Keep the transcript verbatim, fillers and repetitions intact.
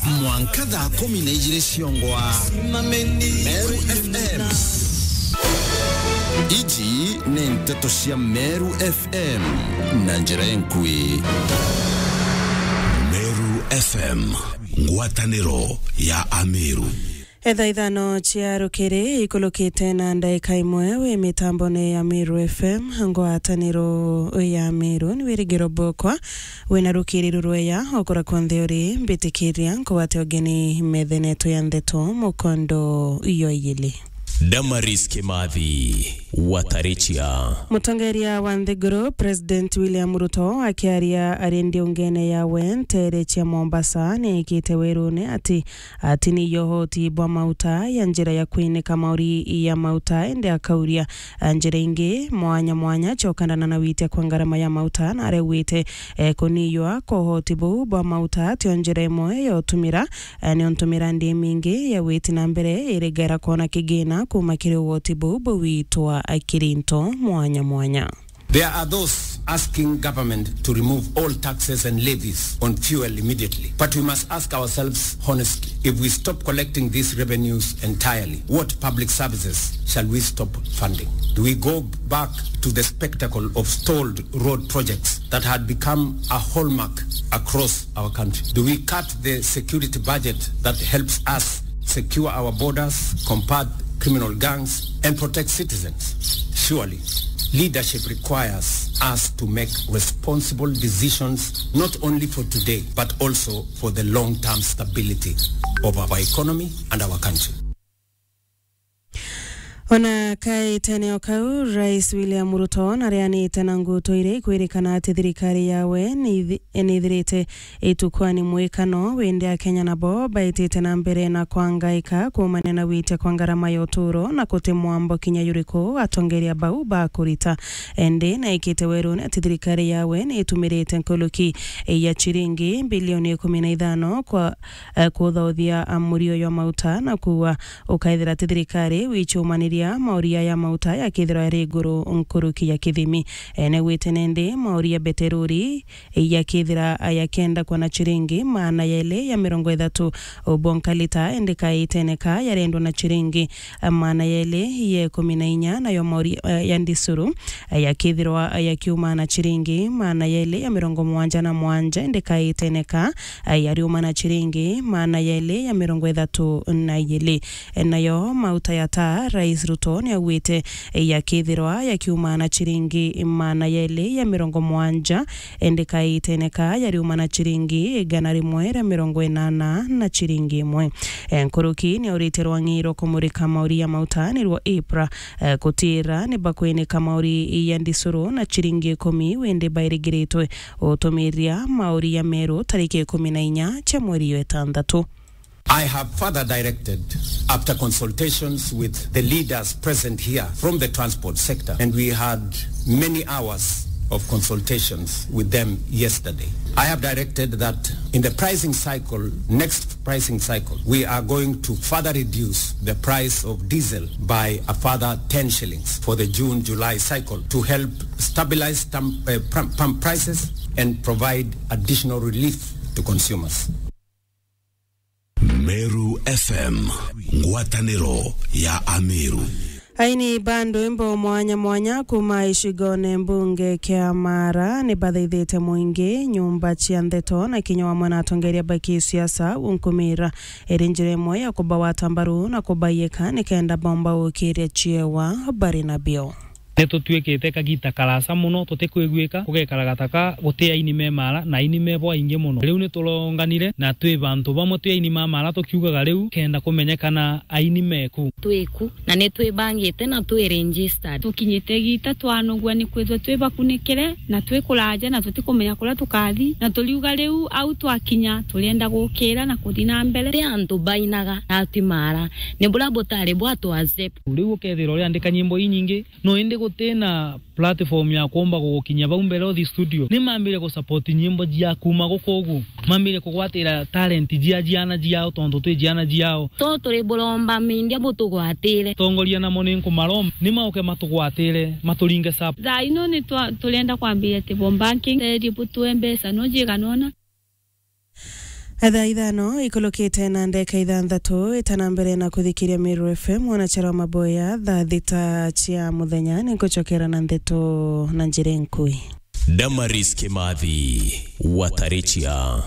Mwanka thaa kumi na ijiri ciongwa. Meru F M. Iji ni nteto cia Meru F M na njira enkui. Meru F M, ngwataniro ya Ameru. Etha ithano cia rukiri ikulukite na ndaika imwe wi mitambone ya Meru F M, ngwataniro ya Meru. Ni wirigiro bwakwa wina rukiri rurweya okura kwonthe uri, mbitikiria nkugwate ugeni metha yetu ya ndeto mukondo iyo iyili. Damaris Kimathi, Watarichia. Mutongeria wa nthiguru, President William Ruto, akiaria ari ndiungene yawe ntere cia Mombasa, niikite werune ati ati ni yo uhoti bwa mauta ya njira ya kwinika mauri ya mauta, indi akauria, eh, njira ingi mwanya mwanya cia ukandana na witia kwa ngarama ya mauta, na araugite, eh, kuniywa kwa uhoti buu bwa mauta tio njira imwe ya utumira, eh, niuntu mirandi imingi ya witi na mbere irigera kwona kigina kuma kiri uhoti buu bwitwa kiri into mwanya mwanya. There are those asking government to remove all taxes and levies on fuel immediately. But we must ask ourselves honestly, if we stop collecting these revenues entirely, what public services shall we stop funding? Do we go back to the spectacle of stalled road projects that had become a hallmark across our country? Do we cut the security budget that helps us secure our borders, combat criminal gangs, and protect citizens? Surely, leadership requires us to make responsible decisions, not only for today, but also for the long-term stability of our economy and our country. Ona kaitene o kau, Rais William Ruto nareanite na nguto iria ikwirikana ati thirikari yawe niithi-, niithirite itukwani mwikano, windi Akenya nabo baitite na mbere na kwangaika kuumania na witia kwa ngarama ya uturo na kuti mwambo kinya juriku atongeria bau bakurita. Indi naikite werune ati thirikari yawe niitumirite nkuruki ya chiringi bilioni ikumi na ithano kwa, eh, kuthauthia, ah, murio jwa mauta na kuua ukaethira ti thirikari wichumaniria mauria ya mauta yakithirwa yari iguru nkuruki ya kithimi. Ene gwite nende mauria beterori yakithira yakenda kwa na chiringi maana yeli ya mirongo ithatu ubonka lita, indi kaiteneka yarendwa na chiringi maana yeli ya ikumi na inya, nayo mauria, eh, ya ndisuru, eh, yakithirwa yakiuma na chiringi maana yeli ya mirongo mwanja na mwanja, indi kaiteneka, eh, yariuma na chiringi maana yeli ya mirongo ithatu na ijili. Eh, nayo mauta ya taa, Rais Ruto niaugite, eh, yakithirwa yakiuma na chiringi maana yeli ya mirongo mwanja, indi kaiteneka yariuma na chiringi igana rimwe ria mirongo inana na chiringi imwe. Eh, nkuruki niaurite rwang'i rwa kumurika mauria mauta nirwo IPRA, eh, kutira ni bakwinika mauri ya ndisuru na chiringi ikumi, windi bairigiritwe utumiria mauri ya meru tariki ikumi na inya cia mweri wa itantatu. I have further directed, after consultations with the leaders present here from the transport sector, and we had many hours of consultations with them yesterday. I have directed that in the pricing cycle, next pricing cycle, we are going to further reduce the price of diesel by a further ten shillings for the June, July cycle to help stabilize tam-, uh, pump, pump prices and provide additional relief to consumers. Meru F M, ngwataniro ya Ameru. Aini ba ndwimbo mwanya mwanya kuma icigone mbunge kia Mara ni bathaithite mwingi, nyumba cia ndeto na kinya wamwe na atongeria ba kisiasa unkumira iri njira imwe ya kubawata mbaru na kubaiyika nikenda bomba gukiria ciewa bari nabio. Ni tutwikite kagita karasa muno tutikwiguika, kugekara gataka guti aini me Mara na aini me bo aingi muno. Riu ni turonganire na twi bantu bamwe twi aini ma Mara tukiugaga riu kenda kumenyekana aini meku. Twiku na ni twibangite na twi registered. Tukinyite gita twanugua ni kwithwa twi bakunikire na twi kuraja na tutikumenya kuria tukathi, na turiuga riu au twakinya turienda gukira na kuthi na mbere. Ti antu bainaga na ati Mara, ni buria butari bwa tu accept. Riu ukethira uriandika nyimbo inyingi, no indi guti na platform ya kuumba gugukinyia bau mbere uthi studio. Ni mambire gusupport nyimbo cia kuma guku ugu. Mambire kugwatira talent cia ciana ciao, tontu twi ciana ciao. So turi buromba media butugwatire. Tongoria namo ni nkumaromba, ni mauke matugwatire, maturinge sub. Thaa ino ni twa-, turenda kwambiria table banking, teri butue mbeca no jiganona. Thaa ithano ikulukite na ndeka ithanthatu, itana mbere na kuthikiria Meru F M, mwanachara wa maboya, thaa thita cia muthenya, ninkucokera na ndeto na njira nkui. Damaris Kimathi, Watarichia.